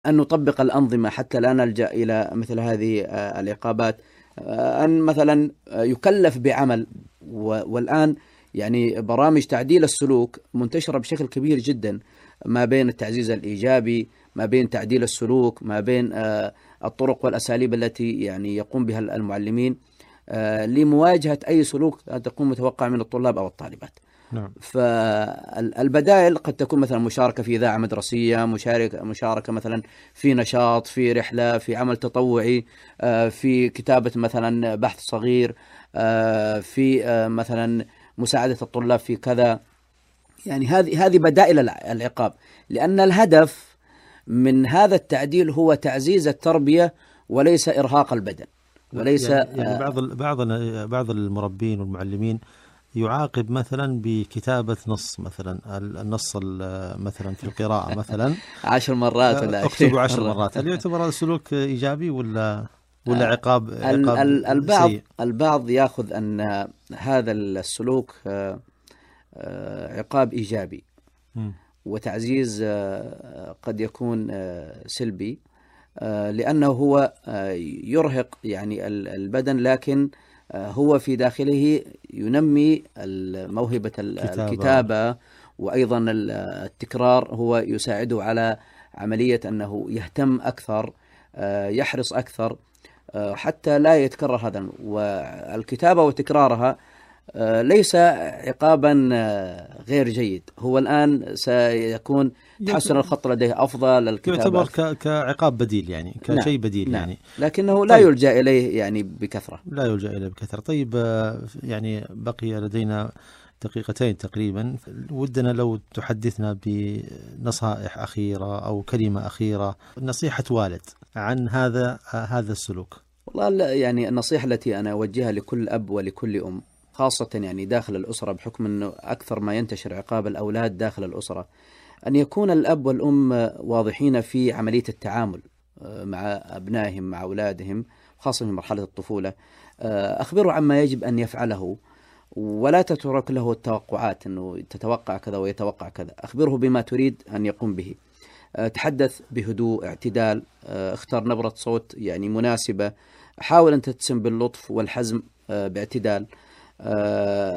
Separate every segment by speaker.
Speaker 1: أن نطبق الأنظمة حتى لا نلجأ إلى مثل هذه العقابات. أن مثلا يكلف بعمل، والآن يعني برامج تعديل السلوك منتشرة بشكل كبير جدا، ما بين التعزيز الإيجابي، ما بين تعديل السلوك، ما بين الطرق والأساليب التي يعني يقوم بها المعلمين لمواجهة أي سلوك تكون متوقع من الطلاب أو الطالبات.
Speaker 2: نعم.
Speaker 1: فالبدائل قد تكون مثلا مشاركة في إذاعة مدرسية، مشاركة مثلا في نشاط، في رحلة، في عمل تطوعي، في كتابة مثلا بحث صغير، في مثلا مساعدة الطلاب في كذا. يعني هذه بدائل العقاب، لأن الهدف من هذا التعديل هو تعزيز التربية وليس إرهاق البدن، وليس
Speaker 2: يعني بعض المربين والمعلمين يعاقب مثلا بكتابة نص، مثلا النص مثلا في القراءة مثلا
Speaker 1: 10 مرات ولا
Speaker 2: اكتبوا 10 مرات. هل يعتبر هذا سلوك إيجابي ولا عقاب سيء؟
Speaker 1: البعض يأخذ أن هذا السلوك عقاب إيجابي، وتعزيز قد يكون سلبي، لأنه هو يرهق يعني البدن، لكن هو في داخله ينمي موهبة الكتابة، وأيضا التكرار هو يساعده على عملية أنه يهتم أكثر، يحرص أكثر حتى لا يتكرر هذا. والكتابة وتكرارها ليس عقابا غير جيد، هو الآن سيكون تحسن الخط لديه أفضل، الكتابة
Speaker 2: يعتبر كعقاب بديل، يعني كشيء بديل.
Speaker 1: نعم.
Speaker 2: يعني
Speaker 1: لكنه لا يلجأ إليه يعني بكثرة.
Speaker 2: لا يلجأ إليه بكثرة. طيب، يعني بقي لدينا دقيقتين تقريبا، ودنا لو تحدثنا بنصائح أخيرة أو كلمة أخيرة، نصيحة والد عن هذا السلوك.
Speaker 1: والله يعني النصيحة التي أنا أوجهها لكل أب ولكل أم، خاصة يعني داخل الأسرة، بحكم أنه أكثر ما ينتشر عقاب الأولاد داخل الأسرة، أن يكون الأب والأم واضحين في عملية التعامل مع أبنائهم، مع أولادهم، خاصة في مرحلة الطفولة. أخبروا عما يجب أن يفعله، ولا تترك له التوقعات أنه تتوقع كذا ويتوقع كذا. أخبره بما تريد أن يقوم به. تحدث بهدوء، اعتدال، اختار نبرة صوت يعني مناسبة، حاول أن تتسم باللطف والحزم باعتدال.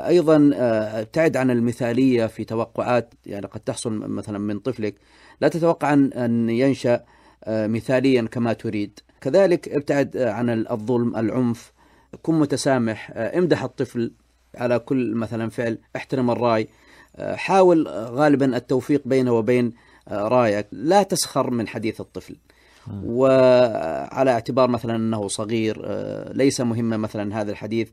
Speaker 1: أيضا ابتعد عن المثالية في توقعات يعني قد تحصل مثلا من طفلك، لا تتوقع أن ينشأ مثاليا كما تريد. كذلك ابتعد عن الظلم، العنف، كن متسامح، امدح الطفل على كل مثلا فعل، احترم الرأي، حاول غالبا التوفيق بينه وبين رأيك، لا تسخر من حديث الطفل، وعلى اعتبار مثلا أنه صغير ليس مهما مثلا هذا الحديث،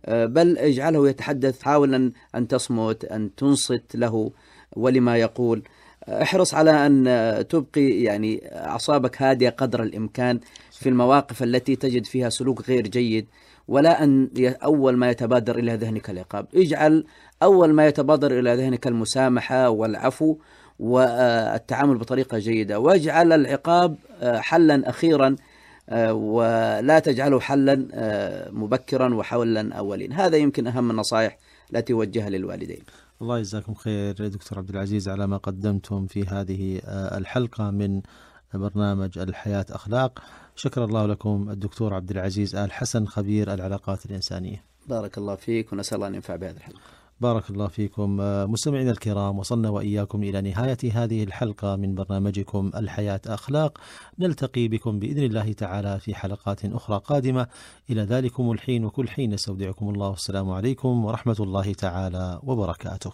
Speaker 1: بل اجعله يتحدث، حاول أن تصمت، أن تنصت له ولما يقول. احرص على أن تبقي يعني أعصابك هادئة قدر الإمكان في المواقف التي تجد فيها سلوك غير جيد، ولا أن أول ما يتبادر إلى ذهنك العقاب. اجعل أول ما يتبادر إلى ذهنك المسامحة والعفو والتعامل بطريقة جيدة، واجعل العقاب حلا أخيرا، ولا تجعله حلا مبكرا وحولا أولين. هذا يمكن أهم النصائح التي وجهها للوالدين.
Speaker 2: الله يجزاكم خير دكتور عبد العزيز على ما قدمتم في هذه الحلقة من برنامج الحياة أخلاق. شكر الله لكم الدكتور عبد العزيز آل حسن، خبير العلاقات الإنسانية.
Speaker 1: بارك الله فيك، ونسأل الله أن ينفع بهذه الحلقة.
Speaker 2: بارك الله فيكم. مستمعينا الكرام، وصلنا وإياكم إلى نهاية هذه الحلقة من برنامجكم الحياة أخلاق. نلتقي بكم بإذن الله تعالى في حلقات أخرى قادمة. إلى ذلكم الحين وكل حين نستودعكم الله، والسلام عليكم ورحمة الله تعالى وبركاته.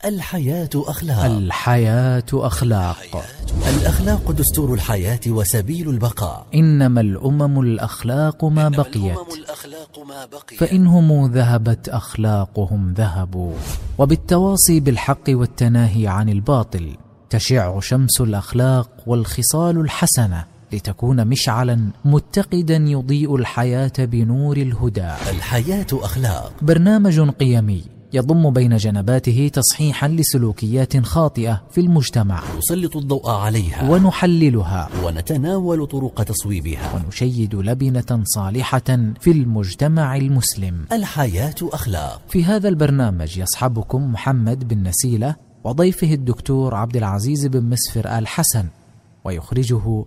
Speaker 3: الحياة أخلاق.
Speaker 4: الحياة أخلاق.
Speaker 3: الأخلاق دستور الحياة وسبيل البقاء.
Speaker 4: إنما الأمم الأخلاق ما بقيت، فإنهم ذهبت أخلاقهم ذهبوا. وبالتواصي بالحق والتناهي عن الباطل تشع شمس الأخلاق والخصال الحسنة، لتكون مشعلا متقدا يضيء الحياة بنور الهدى.
Speaker 3: الحياة أخلاق،
Speaker 4: برنامج قيمي يضم بين جنباته تصحيحا لسلوكيات خاطئة في المجتمع،
Speaker 3: نسلط الضوء عليها
Speaker 4: ونحللها،
Speaker 3: ونتناول طرق تصويبها،
Speaker 4: ونشيد لبنة صالحة في المجتمع المسلم.
Speaker 3: الحياة أخلاق.
Speaker 4: في هذا البرنامج يصحبكم محمد بن نسيلة وضيفه الدكتور عبد العزيز بن مسفر آل حسن، ويخرجه